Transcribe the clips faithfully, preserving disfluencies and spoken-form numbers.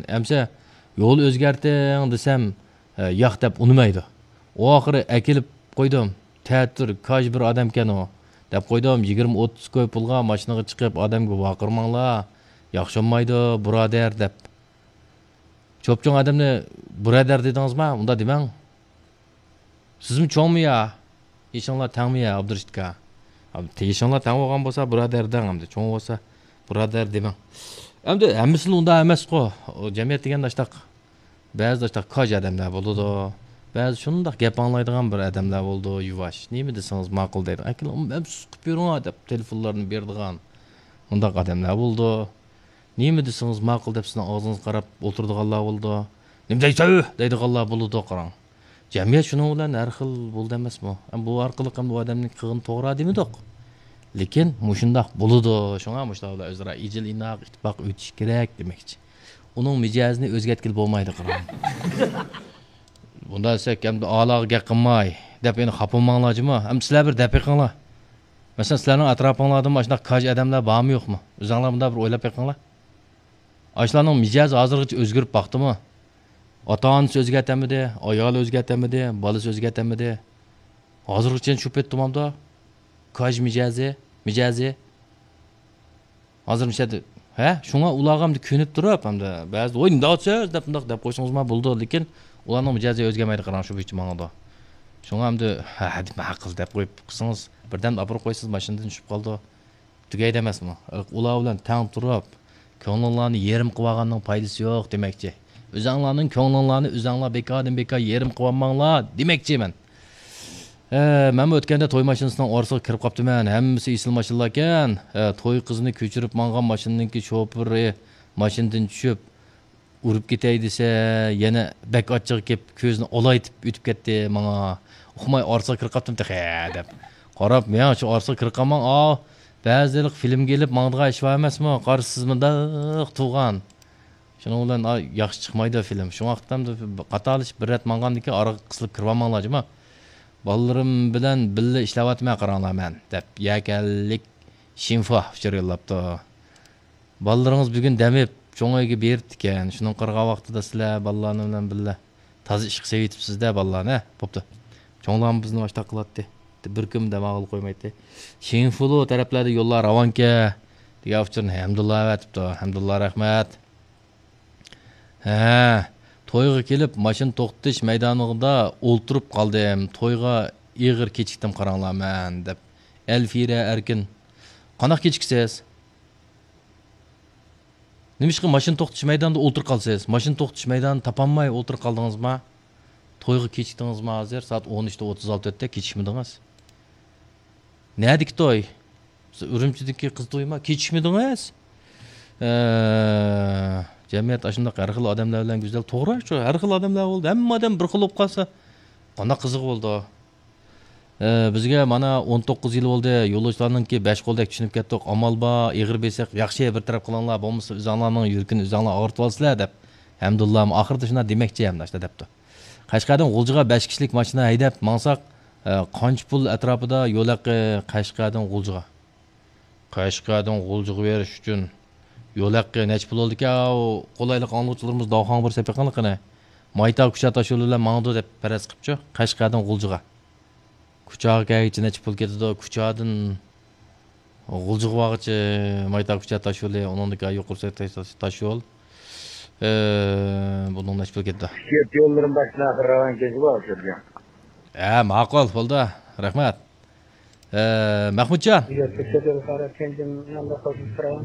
ئەمسە يول ئۆزگەرتىڭ دېسەم، ياق دەپ ئۇنىمايدۇ. ئۇ ئاخىرى ئەكېلىپ قويدۇم. تەتۈر كاج بىر ئادەمكەن ئۇ. دەپ قويدۇم، يىگىرمە ئوتتۇز كوي پۇلغا ماشىنىغا چىقىپ، ئادەمگە ۋارقىرىماڭلار. ياخشى بولمايدۇ، بۇرادەر دەپ. چوپچوڭ ئادەمنى بۇرادەر دېدىڭىزما؟ ئۇنداق دېمەڭ. سىزمۇ چوڭمۇ يا؟ يېشىڭلار تەڭمۇ يا، ئابدۇرېشىت ئاكا؟ يېشىڭلار تەڭ بولغان بولسا بۇرادەر دەڭ ئەمدى. چوڭ بولسا بۇرادەر دېمەڭ. ئەمدى ھەممىسىلا ئۇنداق ئەمەسقۇ. ئۇ جەمئىيەت دېگەندە ئاشتاق، بەزىدە ئاشتاق كاج ئادەملەر بولىدۇ. بەزى شۇنداق گەپ ئاڭلايدىغان بىر ئادەملەر بولىدۇ، يۇۋاش. نېمە دېسىڭىز ماقۇل دەيدۇ. ئاكىلىڭ ئەمسىز قىلىپ يۈرۈڭ دەپ تېلېفونلارنى بېرىدىغان مۇنداق ئادەملەر بولىدۇ. نېمە دېسىڭىز ماقۇل دەپ سىزنىڭ ئاغزىڭىزغا قاراپ ئولتۇرىدىغانلار بولىدۇ. نېمە دەيسەن دەيدىغانلار بولىدۇ، قاراڭ. جەمئىيەت شۇنىڭ بىلەن ھەر خىل بولىدۇ ئەمەسمۇ؟ ئەم، بۇ ئارقىلىق ئەمدى ئۇ ئادەمنىڭ قىلغىنى توغرا دېمىدۇق. لېكىن مۇشۇنداق بولىدۇ. شۇڭا مۇشۇلار بىلەن ئۆزئارا ئىجىل ئىناق، ئىتتىپاق ئۆتۈش كېرەك دېمەكچى. ئۇنىڭ مىجەزىنى ئۆزگەرتكىلى بولمايدۇ، قاراڭ. بۇنداق دېسەك، ئەمدى ئالاغا گەپ قىلماي دەپ يەنە خاپا بولماڭلار جۇمۇ. ئەمدى سىلەر بىر دەپ بېقىڭلار. مەسىلەن، سىلەرنىڭ ئەتراپىڭلاردىمۇ ئاشۇنداق كاج ئادەملەر بارمۇ يوقمۇ؟ ئۆزۈڭلار بۇنداق بىر ئويلاپ بېقىڭلار. ئاشۇلارنىڭ مىجەزى ھازىرغىچە ئۆزگىرىپ باقتىمۇ؟ ئاتا-ئانىسى ئۆزگەرتەلمىدى، ئايالى ئۆزگەرتەلمىدى، بالىسى ئۆزگەرتەلمىدى. ھازىرغىچە شۇ پېتى تۇمامدا كاج مىجەزى، مىجەزى. ھازىر مىشەدە، ھە؟ شۇڭا ئۇلارغا ئەمدى كۆنۈپ تۇرۇپ، ئەمدى بەزىدە، ۋوي، نېمانداق سۆز دەپ، مۇنداق دەپ قويسىڭىزمۇ بولىدۇ، لېكىن ئۇلارنىڭ مىجەزى ئۆزگەرمەيدۇ، قاراڭ، شۇ بويىچە ماڭىدۇ. شۇڭا ئەمدى، ھە، ھە دېمە، ھەققىز دەپ قويۇپ قىلسىڭىز، بىردەم ئاپىرىپ قويسىز، ماشىنىدىن چۈشۈپ قالىدۇ. تۈگەيدۇ ئەمەسمۇ؟ ئۇلار بىلەن تەڭ تۇرۇپ، كۆڭلۈڭلارنى يېرىم قىلىۋالغاننىڭ پايدىسى يوق دېمەكچى. ئۆزەڭلارنىڭ كۆڭلۈڭلارنى ئۆزەڭلار بىكاردىن بىكار يېرىم قىلىۋالماڭلار دېمەكچى مەن. ھە، مەنمۇ ئۆتكەندە توي ماشىنىسىنىڭ ئارىسىغا كىرىپ قاپتىمەن. ھەممىسى ئېسىل ماشىنىلاركەن. ھە، توي قىزىنى كۆچۈرۈپ ماڭغان ماشىنىنىڭكى شوپۇرى ماشىنىدىن چۈشۈپ، ئۇرۇپ كېتەي دېسە، يەنە بەك ئاچچىقى كېلىپ، كۆزىنى ئالايتىپ ئۆتۈپ كەتتى ماڭا. ئۇقماي ئارىسىغا كىرىپ قاپتىم تېخى، دەپ. قاراپ، مېڭە شۇ ئارىسىغا كىرىپ قالماڭ، ئاۋۇ. بەزىدە ھېلىقى فىلىمگە ئېلىپ ماڭىدىغان ئىش بار ئەمەسمۇ؟ قارىسىز مۇنداق تۇغان. شۇنىڭ بىلەن، ئا، ياخشى چىقمايدۇ فىلىم. شۇڭا قاتارلىشىپ بىر رەت ماڭغاندىن كېيىن ئارىغا قىسىلىپ كىرىۋالماڭلار، جۇما. بالىلىرىم بىلەن بىللە ئىشلەۋاتىمەن، قاراڭلار مەن، دەپ يەكەنلىك شىنفا ئۇچۇر يوللاپتۇ. بالىلىرىڭىز بۈگۈن دەم ئېلىپ، چوڭ ئۆيگە بېرىپتىكەن. شۇنىڭ قىرغان ۋاقتىدا سىلەر بالىلارنى بىلەن بىللە تازا ئىشقا سېلىۋېتىپسىز-دە، بالىلارنى، ھە؟ بوپتۇ. چوڭلارمۇ بىزنى ئاشتاق قىلاتتى. بىر كۈنمۇ دەم ئالغىلى قويمايتتى. شىنفۇلۇ تەرەپلەردە يوللار راۋانكەن، دېگەن ئۇچۇرنى ھەمدۇللا ئەۋەتىپتۇ. ھەمدۇللا، رەھمەت. ھە، تويغا كېلىپ، ماشىنا توختىتىش مەيدانىدا ئولتۇرۇپ قالدىم. تويغا ئېغىر كېچىكتىم، قاراڭلار مەن، دەپ. ئەلفىرە ئەركىن. قانداق كېچىكىسىز؟ نېمىشقا ماشىنا توختىتىش مەيدانىدا ئولتۇرۇپ قالىسىز؟ ماشىنا توختىتىش مەيدانىنى تاپالماي ئولتۇرۇپ قالدىڭىزما؟ تويغا كېچىكتىڭىزما ھازىر؟ سائەت ئون ئۈچتە ئوتتۇز ئالتە ئۆتتى، كېچىكمىدىڭىز. نەدىكى توي؟ ئۈرۈمچىدىكى قىز تويىما؟ كېچىكمىدىڭىز؟ ئە، جەمئىيەت ئاشۇنداق ھەر خىل ئادەملەر بىلەن گۈزەل. توغرا شۇ، ھەر خىل ئادەملەر بولدى. ھەممە ئادەم بىر خىل بولۇپ قالسا، قانداق قىزىق بولىدۇ؟ ئە، بىزگە مانا ئون توققۇز يىل بولدى، يولۇچىلارنىڭكى بەش قولدەك چۈشىنىپ كەتتۇق. ئامال بار، ئېغىر بېسىق، ياخشى بىر تەرەپ قىلىڭلار، بولمىسا ئۆزۈڭلارنىڭ يۈرىكىنى ئۆزۈڭلار ئاغرىتىۋالىسىلەر، دەپ. ھەمدۇللامۇ ئاخىرىدا شۇنداق دېمەكچى ھەمدە ئاشۇنداق دەپتۇ. قەشقەردىن غۇلجىغا بەش كىشىلىك ماشىنا ھەيدەپ ماڭساق، ئە، قانچە پۇل ئەتراپىدا يول ھەققى قەشقەردىن غۇلجىغا؟ قەشقەردىن غۇلجىغا بېرىش ئۈچۈن يول ھەققى نەچچە پۇل بولىدىكەن؟ ئاۋۇ قولايلىق ئاڭلىغۇچىلىرىمىز داۋخانغا بىر سېپىق قىلىڭ قېنى. مايتا كۇچا تاشيولى بىلەن ماڭىدۇ دەپ پەرەز قىپچۇ، قەشقەردىن غۇلجىغا. كۇچاغا كەلگۈچە نەچچە پۇل كېتىدۇ؟ كۇچادىن غۇلجىغا بارغۇچە مايتا كۇچا تاشيولى، ئۇنىڭدىن كېيىن يۇقىرى سەي تاش-، تاشيول. ئە، بۇنىڭ نەچچە پۇل كېتىدۇ؟ شىكايەت يوللىرىم باشتىن ئاخىر راۋان كېلىشى بار ئۇچۇرغا. ھە، ماقۇل، بولدى. رەھمەت. ئە، مەخمۇتجان. شىكايەت يولى قارا تيەنجىن مەندە قوشۇلۇپ تۇرۇۋان.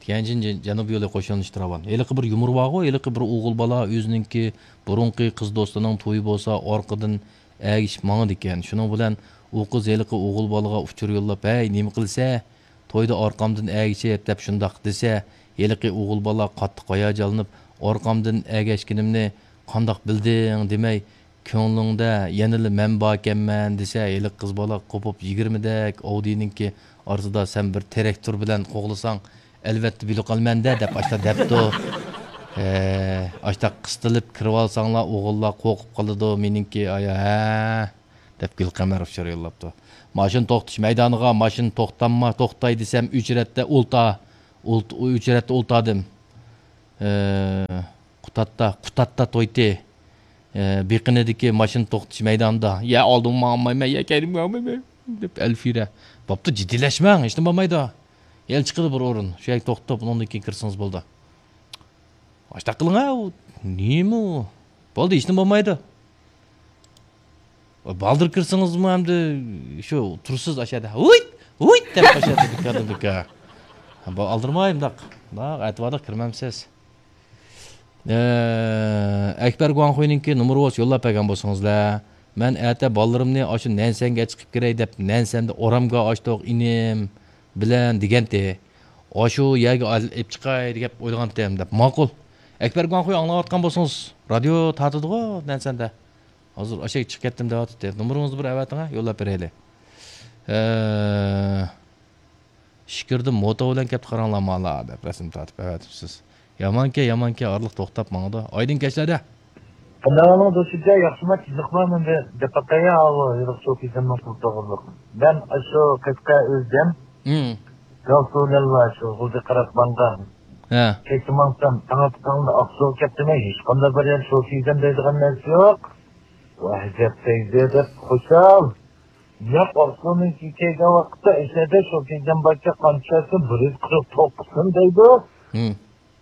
تيەنجىن جە-، جەنۇبىي يولى قوشۇلۇشى راۋان. ھېلىقى بىر يۇمۇر بارغۇ، ھېلىقى بىر ئوغۇل بالا ئۆزىنىڭكى بۇرۇنقى قىز دوستىنىڭ تويى بولسا ئارقىدىن ئەگىشىپ ماڭىدىكەن. شۇنىڭ بىلەن ئۇ قىز ھېلىقى ئوغۇل بالىغا ئۇچۇر يوللاپ، ھەي، نېمە قىلىسە؟ تويدا ئارقامدىن ئەگىشىپ دەپ شۇنداق دېسە، ھېلىقى ئوغۇل بالا قاتتىق ھاياجانلىنىپ، ئارقامدىن ئەگەشكىنىمنى قانداق بىلدىڭ دېمەي، كۆڭلۈڭدە يەنىلا مەن باركەنمەن دېسە، ھېلىقى قىز بالا قوپۇپ يىگىرمىدەك ئاۋدىنىڭكى ئارىسىدا سەن بىر تىراكتور بىلەن قوغلىساڭ، ئەلۋەتتە بىلىپ قالىمەن-دە دەپ ئاشتا دەپتۇ. ھە، ئاشتا قىستىلىپ كىرىۋالساڭلار ئوغۇللار قورقۇپ قالىدۇ مېنىڭكى ئايا، ھە، دەپ گۈلقەمەر ئۇچۇر يوللاپتۇ. ماشىنا توختىتىش مەيدانىغا ماشىنا توختامما، توختاي دېسەم ئۆچرەتتە ئولتا، ئولت-، ئۆچرەتتە ئولتادىم. ھە، قۇتاتتا، قۇتاتتا تويتى، ئە، بېقىنىدىكى ماشىنا توختىتىش مەيدانىدا، يە ئالدىڭغا ماڭالمايمەن، يە كەينىڭگە ماڭالمايمەن دەپ ئەلفىرە. بوپتۇ، جىددىيلەشمەڭ، ھېچنېمە بولمايدۇ. يەنە چىقىدۇ بىر ئورۇن، شۇ يەرگە توختاپ، ئۇنىڭدىن كېيىن كىرسىڭىز بولىدۇ. ئاشتاق قىلىڭ ھە، ئۇ نېمە ئۇ؟ بولدى، ھېچنېمە بولمايدۇ. بالدۇر كىرسىڭىزمۇ ئەمدى شۇ تۇرسىز ئاشەدە ھۇيت، ھۇيت دەپ ئاشەدە بىكاردىن بىكار. بۇ ئالدىرىماي مۇنداق. مۇنداق ئەتىۋاردا كىرمەمسىز. ئە، ئەكبەر گۇاڭخۇينىڭكى نومۇرى بولسا يوللاپ بەرگەن بولسىڭىزلە. مەن ئەتە بالىلىرىمنى ئاشۇ نەنسەنگە چىقىپ كىرەي دەپ نەنسەندە ئورامغا ئاشتۇق ئىنىم بىلەن دېگەنتى. ئاشۇ يەرگە ئېلىپ چىقاي دەپ ئويلىغانتىم دەپ. ماقۇل. ئەكبەر گۇاڭخۇي ئاڭلاۋاتقان بولسىڭىز، رادىيو تارتىدىغۇ نەنسەندە. ھازىر ئاشەگە چىقىپ كەتتىم دەۋاتىتتى. نومۇرىڭىزنى بىر ئەۋەتىڭە، يوللاپ بېرەيلى. ئە، ئىچكىرىدىن موتو بىلەن كەپتۇ، قاراڭلار مالا دەپ رەسىم تارتىپ ئەۋەتىپسىز. يامانكەن، يامانكەن، ئارىلىق توختاپ ماڭىدۇ. ئايدىڭ كەچلەردە. قانداق ئەھۋالىڭىز دوستجان؟ ياخشىما؟ تىزىقما؟ مەن بىر دەپ باقايا، ئاۋۇ ھېلىقى شوپىزمنىڭ پۇل توغرىلىق. مەن ئاشۇ قەشقەر ئۆزۈم، ھىم. گاۋسۇلەللا شۇ غۇلجا قاراپ ماڭغان. ھە. كەچتە ماڭسام، تاڭ ئاتقاندا ئاقسۇغا كەپتىمەن، ھېچقانداق بىر يەر شوپىزم دەيدىغان نەرسە يوق. ۋاھ، ئەجەب دەيدۇ دەپ خۇشال. ياق، ئاقسۇنىڭكى كەلگەن ۋاقىتتا ئەشەدە شوپىزم باركەن، قانچە چۈشەرسىڭ، بىر يۈز قىرىق توققۇزسۇن دەيدۇ. ھىم.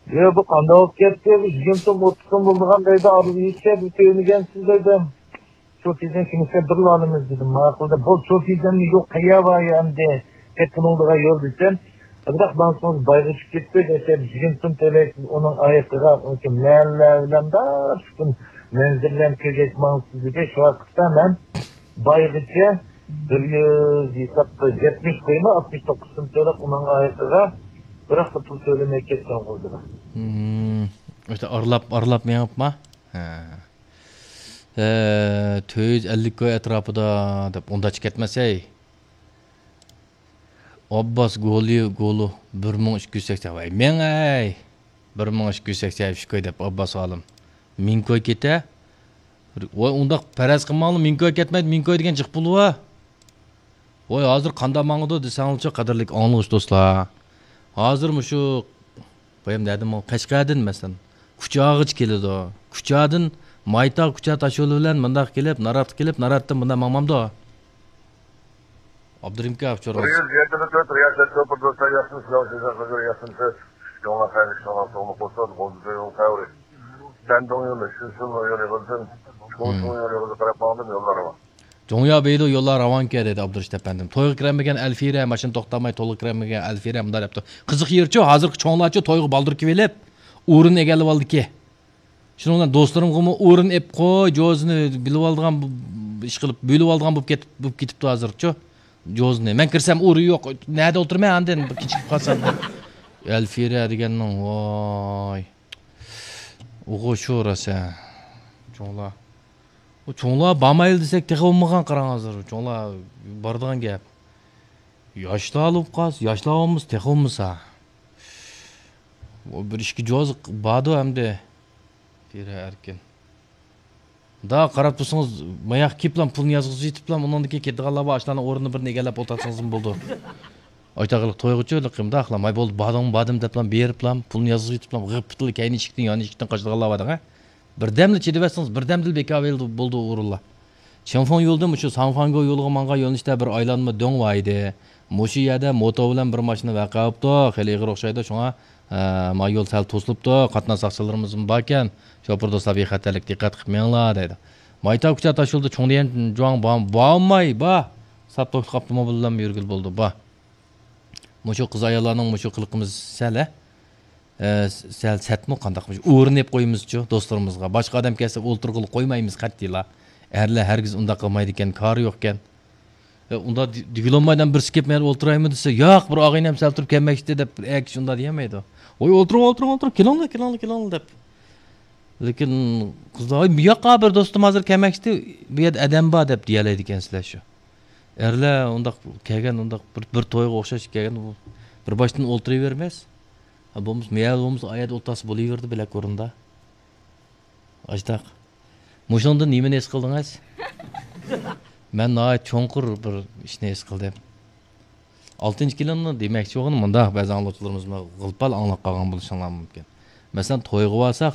يا، بۇ قانداق بولۇپ كەتتى؟ بۇ يىگىرمە سوم، ئوتتۇز سوم بولىدىغان دەيدۇ، ئارىدا ھېچ يەردە كۆرمىگەنسىز دەيدۇ. شوپىزم كىمسە بىرلا ئالىمىز دېدىم. ماقۇل دەپ، بۇ شوپىزمنى يوق قەيەر بار يا ئەمدى؟ تېپىنىڭدىغا يول دېسەم، بىراق ماڭسىڭىز بايغا چۈشۈپ كېتىپتۇ دېسەم، يىگىرمە سوم تۆلەيسىز، ئۇنىڭ ئايىقىغا ئۇنىڭكى مەنلەر بىلەن بار پۈتۈن مەنزىرىلەرنى كۆرگەچ ماڭىسىز دېدى. شۇ ۋاقىتتا مەن بايغىچە بىر يۈز ھېسابتا يەتمىش قويما، ئاتمىش توققۇز سوم تۆلەپ ئۇنىڭ ئايىغىغا، بىراق پۇل تۆلىمەي كەتكەن غۇلجىغا. ھىم، ئاشۇ ئارىلاپ، ئارىلاپ مېڭىپما؟ ھە. ھە، تۆت يۈز ئەللىك كوي ئەتراپىدا دەپ ئۇنداقچە كەتمەسەي. ئابباس گولى، گولى، بىر مىڭ ئىككى يۈز سەكسەن. ۋاي، مىڭ ئەي! بىر مىڭ ئىككى يۈز سەكسەن ئۈچ كوي دەپ ئابباس ئالىم. مىڭ كوي كېتە. ۋاي، ئۇنداق پەرەز قىلماڭلار، مىڭ كوي كەتمەيدۇ، مىڭ كوي دېگەن جىق پۇل ۋە. ۋاي، ھازىر قانداق ماڭىدۇ دېسەڭلارچۇ، قەدىرلىك ئاڭلىغۇچى دوستلار. ھازىر مۇشۇ، بايام نەدىن ماڭ-، قەشقەردىن مەسىلەن، كۇچاغىچە كېلىدۇ. كۇچادىن مايتاغ كۇچا تاشيولى بىلەن مۇنداق كېلىپ، ناراتقا كېلىپ، ناراتتىن مۇنداق ماڭمامدۇ؟ ئابدۇرېھىم ئاكا، ئۇچۇر بىر يۈز يەتمىش تۆت رىياسەت شوپۇر دوستلار ياخشىمۇ؟ سىلەر ئۈچۈن خەۋەر ياخشىمۇ؟ سىز شۇڭلار خەۋەر شۇڭلار توغرا بولسۇن، غۇلجا يول خەۋىرى. سەندۇڭ يولى، شىشىڭ يولى غىزىن، چوڭشىڭ يولى غىزى قاراپ ماڭدىم يوللارغا. جۇڭيا بېيدۇ يوللار راۋانكەن دېدى ئابدۇرېشىت ئەپەندىم. تويغا كىرەلمىگەن ئەلفىرە، ماشىنا توختالماي تويغا كىرەلمىگەن ئەلفىرە مۇنداق دەپتۇ. قىزىق يېرىچۇ، ھازىرقى چوڭلارچۇ تويغا بالدۇر كېلىۋېلىپ، ئورۇن ئىگىلىۋالدىكى. شۇنىڭ بىلەن دوستلىرىمغىمۇ ئورۇن ئېپ قوي، جوزىنى بىلىۋالىدىغان بۇ، بۇ ئىش قىلىپ، بۆلۈۋالىدىغان بولۇپ كېتىپ، بولۇپ كېتىپتۇ ھازىرچۇ. جوزىنى. مەن كىرسەم ئورۇن يوق. نەدە ئولتۇرىمەن ئاندىن؟ بىر كېچىكىپ قالسام دەپ. ئەلفىرە دېگەننىڭ، ۋاي. ئوغۇ شۇ راسا. چوڭلار. ئۇ چوڭلار بارمايلى دېسەك تېخى بولمىغان قاراڭ ھازىر. چوڭلار بارىدىغان گەپ. ياشلار بولۇپ قالسا، ياشلار بولمىسا تېخى بولمىسا. ئۇ بىر ئىككى جوز باردۇ ئەمدى. پىرە ئەركىن. دا قاراپ تۇرسىڭىز، ماياق كېپلام پۇلنى يازغۇزۇپ يېتىپلام، ئۇنىڭدىن كېيىن كېتىدىغانلار بار، ئاشۇلارنىڭ ئورنىنى بىرنى ئېگەللەپ ئولتۇرسىڭىزمۇ بولىدۇ. ئايتاغلىق تويغۇچۇ لىقىمدا ئاخلام، ھاي بولدى، باردىڭمۇ باردىم دەپلام بېرىپلام، پۇلنى يازغۇزۇپ يېتىپلام، غىپپىتىلا كەينى ئىشىكتىن، يان ئىشىكتىن قاچىدىغانلار بار دەڭە. بىردەملا چىدىۋەتسىڭىز، بىردەمدىلا بىكار بولدى، بولدى ئورۇنلار. چىڭفېڭ يولىدىن مۇشۇ ساڭفاڭگو يولىغا ماڭغان يۆنىلىشتە بىر ئايلانما دۆڭ بار ئىدى. مۇشۇ يەردە موتو بىلەن بىر ماشىنا ۋەقە بوپتۇ، خېلى ئېغىر ئوخشايدۇ، شۇڭا، ئە، ما يول سەل توسۇلۇپتۇ، قاتناش ساقچىلىرىمىزمۇ باركەن، شوپۇر دوستلار بىخەتەرلىك دىققەت قىلىپ مېڭىڭلار دەيدۇ. مايتاۋ كۇچا تاشيولىدا چوڭدىيەن جۇاڭ بار-، بارماي، بار. ساپ توكتا قاپتىمۇ بىللە يۈرگىلى بولىدۇ، بار. مۇشۇ قىز ئاياللارنىڭ مۇشۇ قىلىقىمىز سەل، ھە؟ ئە، سەل سەتمۇ قانداق؟ ئورۇن ئېلىپ قويىمىزچۇ دوستلىرىمىزغا. باشقا ئادەم كەلسە ئولتۇرغىلى قويمايمىز قەتئىيلا. ئەرلەر ھەرگىز ئۇنداق قىلمايدىكەن، كارى يوقكەن. ئە، ئۇنداق دېگىلى بولمايدۇ، بىرسى كېلىپ مەن ئولتۇرايمۇ دېسە، ياق، بىر ئاغىنەم سەل تۇرۇپ كەلمەكچىدى دەپ، بىر ئەر كىشى ئۇنداق دېيەلمەيدۇ. ۋوي، ئولتۇرۇڭ، ئولتۇرۇڭ، ئولتۇرۇڭ، كېلىڭلار، كېلىڭلار، كېلىڭلار دەپ. لېكىن قىزلار، ۋوي، ياق، بىر دوستۇم ھازىر كەلمەكچىدى، بۇ يەردە ئادەم بار دەپ دېيەلەيدىكەنسىلەر شۇ. ئەرلەر ئۇنداق كەلگەن، ئۇنداق بىر، بىر تويغا ئوخشاش كەلگەن، بىر باشتىن ئولتۇرۇۋەرمەس. ھە، بولمىسا، مەيەل بولمىسا، ئايەردە ئولتۇرسا بولۇۋېرىدۇ، بىلەك ئورۇندا. ئاشتاق. مۇشۇنىڭدىن نېمىنى ھېس قىلدىڭىز؟ مەن ناھايىتى چوڭقۇر بىر ئىشنى ھېس قىلدىم. ئالتىنچى كېلىننى دېمەكچى بولغىنىم مۇنداق، بەزى ئاڭلىغۇچىلىرىمىز غىل-پال ئاڭلاپ قالغان بولۇشۇڭلار مۇمكىن. مەسىلەن، تويغا بارساق،